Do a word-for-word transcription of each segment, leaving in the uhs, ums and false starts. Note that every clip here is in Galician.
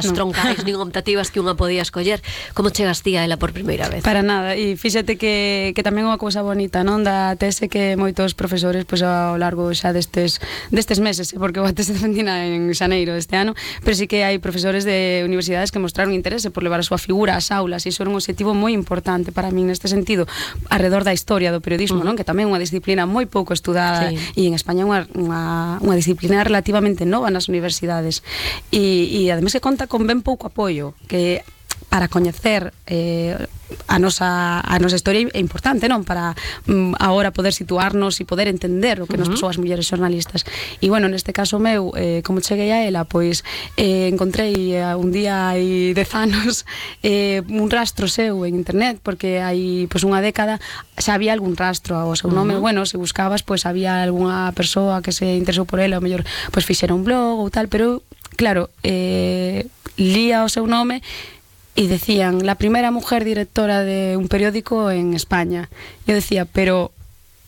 as troncais nin optativas que unha podía escoller. Como chegas ti a ela por primeira vez? Para nada, e fíxate que, que tamén é unha cousa bonita, non? Da tese que moitos profesores, pois, ao largo xa destes, destes meses, porque a tese defendina en xaneiro deste ano, pero sí que hai profesores de universidades que mostraron interese por levar a súa figura ás aulas, e iso era un objetivo moi importante para min neste sentido, alrededor da historia do periodismo, uh-huh. non? Que tamén é unha disciplina moi pouco estudada, sí. E en España é unha, unha, unha disciplina relativamente nova nas universidades, e, e ademais que conta con ben pouco apoio, que para coñecer eh, a nosa a nosa historia é importante, non? Para um, agora poder situarnos e poder entender o que uh-huh. nos pasou as mulleres xornalistas. E bueno, neste caso meu, eh, como cheguei a ela, pois eh, encontrei eh, un día hai dez anos eh, un rastro seu en internet, porque hai pois unha década xa había algún rastro ao seu nome, uh-huh. bueno, se buscabas, pois había algunha persoa que se interesou por ela, ou mellor, pois fixera un blog ou tal, pero claro, eh, lía o seu nome y decían, la primera mujer directora de un periódico en España. Yo decía, pero,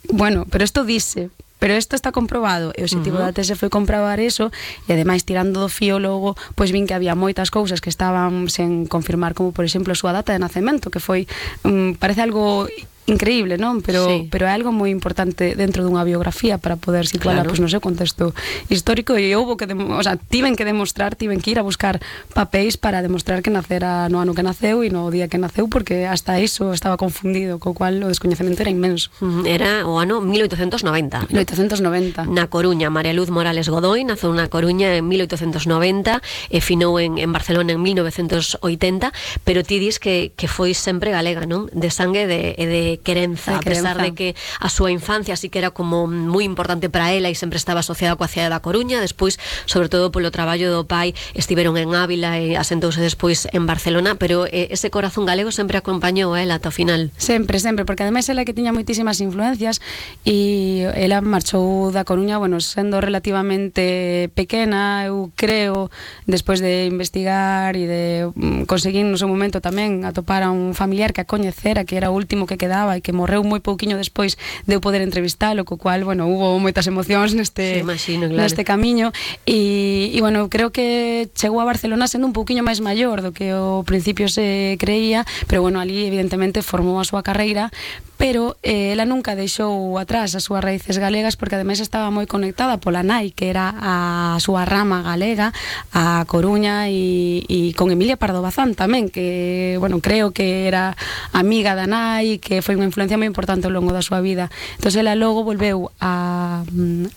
bueno, pero esto dice, pero isto está comprobado, e o objetivo uh-huh. da tese foi comprobar eso, e ademais tirando do fío logo, pois vin que había moitas cousas que estaban sen confirmar, como por exemplo a súa data de nacemento, que foi, um, parece algo increíble, non? Pero, sí. pero é algo moi importante dentro dunha biografía para poder situarla, claro. Pois no seu contexto histórico, e houbo que, o sea, tiven que demostrar, tiven que ir a buscar papéis para demostrar que nacera no ano que naceu e no día que naceu, porque hasta iso estaba confundido, co cual o descoñecemento era inmenso. Era o ano mil oitocentos noventa. mil oitocentos noventa. Na Coruña, María Luz Morales Godoy naceu na Coruña en mil oitocentos noventa e finou en, en Barcelona en mil novecentos oitenta, pero ti dis que, que foi sempre galega, non? De sangue e de, de querenza, a pesar de que a súa infancia sí que era como moi importante para ela e sempre estaba asociada coa cidade da Coruña, despois, sobre todo polo traballo do pai, estiveron en Ávila e asentouse despois en Barcelona, pero eh, ese corazón galego sempre acompañou a ela ata o final. Sempre, sempre, porque ademais ela que tiña moitísimas influencias e ela marchou da Coruña, bueno, sendo relativamente pequena, eu creo, despois de investigar e de mm, conseguir no seu momento tamén atopar a un familiar que a coñecera, que era o último que quedaba e que morreu moi pouquiño despois de eu poder entrevistalo, co cual, bueno, hubo moitas emocións neste, sí, imagino, claro. neste camiño e, e, bueno, creo que chegou a Barcelona sendo un pouquiño máis maior do que ao principio se creía, pero, bueno, ali evidentemente formou a súa carreira, pero eh, ela nunca deixou atrás as súas raíces galegas, porque ademais estaba moi conectada pola nai, que era a súa rama galega, a Coruña, e, e con Emilia Pardo Bazán tamén, que, bueno, creo que era amiga da nai, que foi unha influencia moi importante ao longo da súa vida. Entón, ela logo volveu a,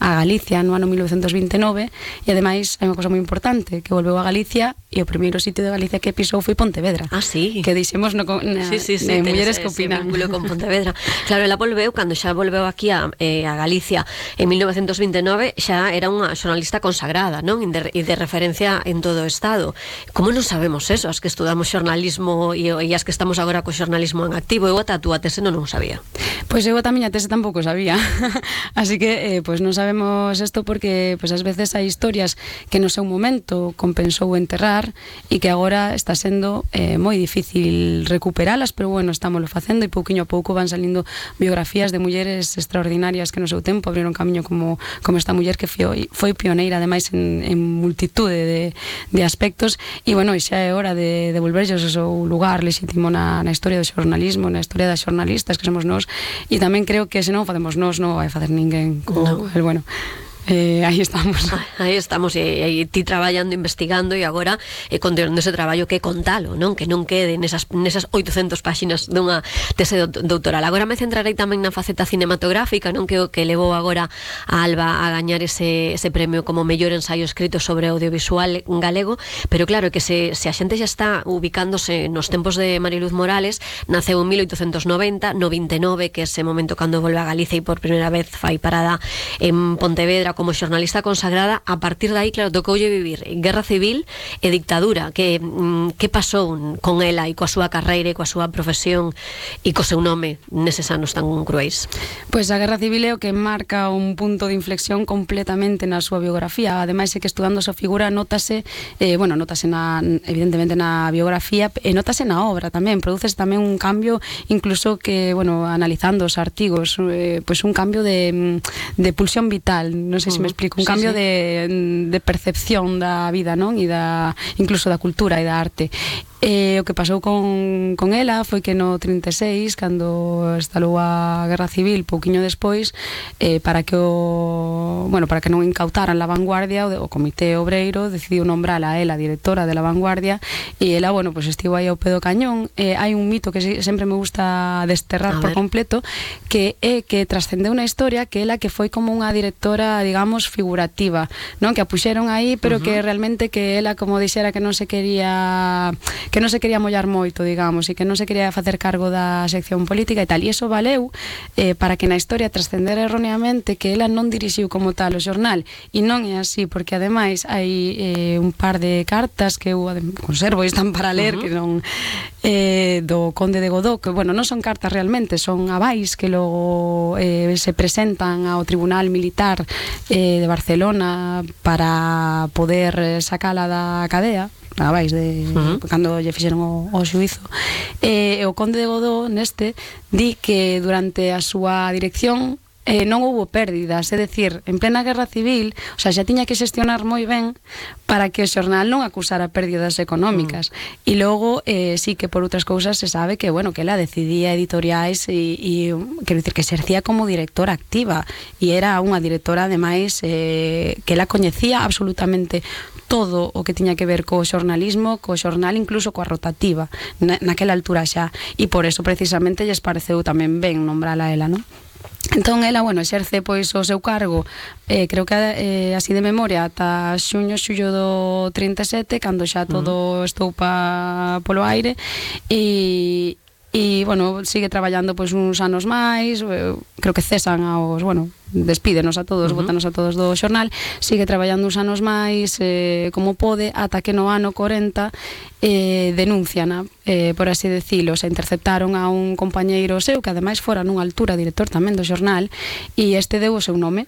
a Galicia no ano mil novecentos vinte e nove, e ademais hai unha cosa moi importante, que volveu a Galicia e o primeiro sitio de Galicia que pisou foi Pontevedra. Ah, sí. Que dixemos no, na, sí, sí, sí, de Mulleres que Opinan. Vínculo con Pontevedra. Claro, ela volveu, cando xa volveu aquí a, eh, a Galicia en mil novecentos vinte e nove, xa era unha xornalista consagrada, non? E de, de referencia en todo o Estado. Como non sabemos eso, as que estudamos xornalismo e, e as que estamos agora co xornalismo en activo? Eu ata a túa tese non non sabía. Pois eu a miña tese tampouco sabía. Así que, eh, pois non sabemos isto porque, pois, ás veces hai historias que no seu momento compensou enterrar e que agora está sendo eh, moi difícil recuperalas, pero bueno, estámoslo facendo e pouquiño a pouco van salindo biografías de mulleres extraordinarias que no seu tempo abriron camiño, como, como esta muller que foi, foi pioneira ademais en, en multitude de, de aspectos, e bueno, xa é hora de devolverlles o seu lugar lexítimo na, na historia do xornalismo, na historia das xornalistas que somos nós, e tamén creo que se non facemos nós non vai facer ninguén co, no. el, bueno, Eh, aí estamos. Aí estamos, e, e ti traballando, investigando, e agora eh, continuando ese traballo que contalo, non? Que non quede nesas, nesas oitocentas páxinas dunha tese doutoral. Agora me centrarei tamén na faceta cinematográfica, non? Que o que levou agora a Alba a gañar ese, ese premio como mellor ensaio escrito sobre audiovisual galego, pero claro que se, se a xente xa está ubicándose nos tempos de María Luz Morales, naceu en mil oitocentos noventa, no vinte e nove, que é ese momento cando volve a Galicia e por primeira vez fai parada en Pontevedra como xornalista consagrada. A partir de aí, claro, tocoulle vivir guerra civil e dictadura. Que, que pasou con ela e coa súa carreira e coa súa profesión e co seu nome neses anos tan cruéis? Pois a guerra civil é o que marca un punto de inflexión completamente na súa biografía. Ademais é que estudando a súa figura notase, eh, bueno, notase na, evidentemente na biografía, e notase na obra tamén. Produces tamén un cambio, incluso que, bueno, analizando os artigos, eh, pois un cambio de, de pulsión vital. Non sei se me explico, un cambio de, de percepción da vida, non? E da, incluso da cultura e da arte. E o que pasou con, con ela foi que no trinta e seis, cando estalou a Guerra Civil, pouquiño despois, eh, para que o bueno, para que non incautaran La Vanguardia, o, o Comité Obreiro decidiu nombrala a ela directora de La Vanguardia, e ela, bueno, pues estivo aí ao pé do cañón. Eh, hai un mito que sempre me gusta desterrar por completo, que é que trascendeu na historia que ela que foi como unha directora, digamos, figurativa, non? Que a puxeron aí, pero uh-huh. que realmente que ela, como dixera, que non se quería que non se quería mollar moito, digamos, e que non se quería facer cargo da sección política e tal, e iso valeu eh, para que na historia trascendera erróneamente que ela non dirixiu como tal o xornal, e non é así, porque ademais hai eh, un par de cartas que eu conservo e están para ler, uh-huh. que non eh, do Conde de Godó, que, bueno, non son cartas realmente, son avais que logo eh, se presentan ao Tribunal Militar eh, de Barcelona para poder sacala da cadea, a vais de uh-huh. cando lle fixeron o, o xuizo. E eh, o Conde de Godó neste di que durante a súa dirección eh, non houbo pérdidas, é dicir, en plena Guerra Civil, o sea, xa tiña que xestionar moi ben para que o xornal non acusara pérdidas económicas. Mm. E logo, eh, sí que por outras cousas se sabe que, bueno, que ela decidía editoriais e, e quero dicir, que exercía como directora activa, e era unha directora, ademais, eh, que ela coñecía absolutamente todo o que tiña que ver co xornalismo, co xornal, incluso coa rotativa, na, naquela altura xa, e por eso precisamente lles pareceu tamén ben nombrala ela, non? Entón ela, bueno, exerce pois o seu cargo, eh, creo que eh, así de memoria ata xuño, xullo do trinta e sete, cando xa todo uh-huh. estou pa, polo aire, e e, bueno, sigue traballando pois uns anos máis, creo que cesan aos, bueno, despídenos a todos, uh-huh. botanos a todos do xornal, sigue traballando uns anos máis eh, como pode, ata que no ano corenta eh, denunciana, eh, por así decilo, se interceptaron a un compañeiro seu que ademais fora nunha altura director tamén do xornal, e este deu o seu nome,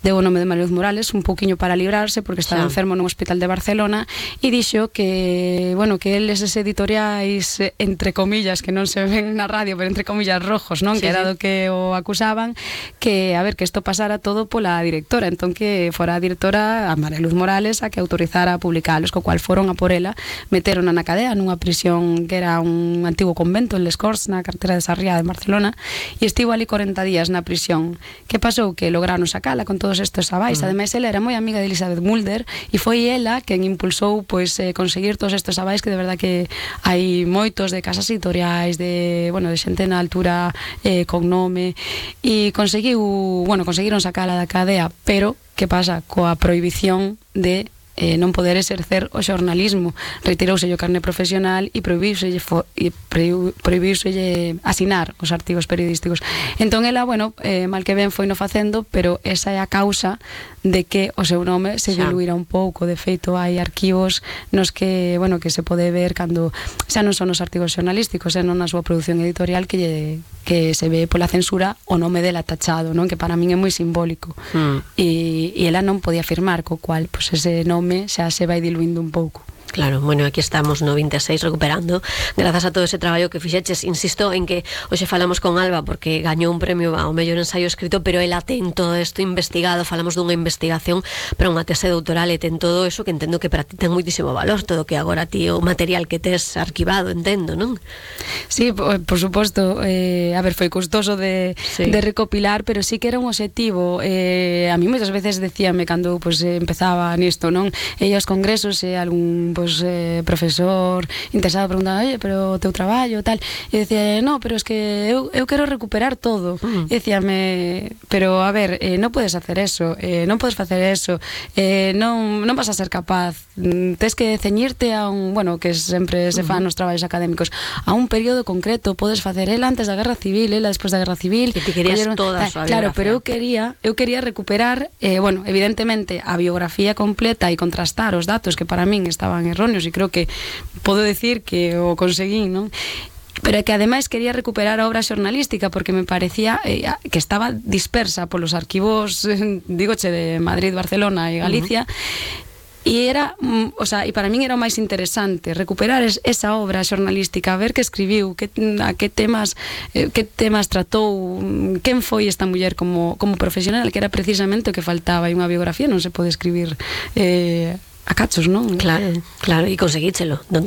deu o nome de María Luz Morales, un pouquiño para librarse porque estaba sí. enfermo nun hospital de Barcelona, e dixo que, bueno, que eles eses editoriais entre comillas, que non se ven na radio, pero entre comillas rojos, non? Sí, que era do que o acusaban, que a ver, que isto pasara todo pola directora, entón que fora a directora, a María Luz Morales, a que autorizara a publicalos, co cual foron a por ela, meteron na cadea nunha prisión que era un antigo convento en Les Corts, na cartera de Sarriá de Barcelona, e estivo ali corenta días na prisión. Que pasou? Que lograron sacala con todos estes avais. Uh-huh. Ademais, ela era moi amiga de Elizabeth Mulder, e foi ela quen impulsou pois eh, conseguir todos estes avais, que de verdad que hai moitos de casas editoriais, de, bueno, de xente na altura eh, con nome, e conseguiu, bueno, conseguiron sacala da cadea, pero que pasa coa prohibición de eh, non poder exercer o xornalismo, retirouse o carné profesional e prohibiuselle e prohibiuselle asinar os artigos periodísticos. Entón ela, bueno, eh, mal que ben foi no facendo, pero esa é a causa de que o seu nome se diluíra un pouco. De feito, hai arquivos nos que, bueno, que se pode ver cando xa non son os artigos xornalísticos, xa non na súa produción editorial, que lle, que se ve pola censura o nome dela tachado, non? Que para min é moi simbólico. Mm. E, e ela non podía firmar, co cual, pues, ese nome xa se vai diluindo un pouco. Claro, bueno, aquí estamos no vinte e seis recuperando, grazas a todo ese traballo que fixeches. Insisto en que hoxe falamos con Alba porque gañou un premio ao mellor ensaio escrito, pero ela ten todo isto investigado, falamos dunha investigación para unha tese doutoral, e ten todo eso que entendo que para ti ten moitísimo valor, todo que agora ti o material que tes arquivado, entendo, non? Sí, por, por suposto, eh, a ver, foi custoso de, sí. de recopilar, pero sí que era un objetivo. Eh, a mí moitas veces decíame cando pues, empezaba nisto, non? E aos congresos e algún pues, eh, profesor interesado preguntaba, oye, pero o teu traballo, tal, e decía, no, pero es que eu, eu quero recuperar todo. Uh-huh. E decíame, pero a ver, eh, non podes hacer eso, eh, non podes facer eso, eh, non, non vas a ser capaz, tes que ceñirte a un, bueno, que sempre se fan uh-huh. nos traballos académicos, a un período concreto, podes facer ela antes da Guerra Civil, ela despois da Guerra Civil. Que te querías colleron, toda a súa claro, pero eu quería, eu quería recuperar, eh, bueno, evidentemente, a biografía completa e contrastar os datos que para min estaban erróneos, e creo que podo decir que o conseguí, non? Pero que ademais quería recuperar a obra xornalística porque me parecía eh, que estaba dispersa polos arquivos, eh, digoche, de Madrid, Barcelona e Galicia. Uh-huh. e era, mm, o sea, e para min era o máis interesante recuperar es, esa obra xornalística, ver que escribiu, que, a que temas eh, que temas tratou, quen foi esta muller como, como profesional, que era precisamente o que faltaba, e unha biografía non se pode escribir eh, a cachos, non? Claro, claro, e conseguíchelo, non te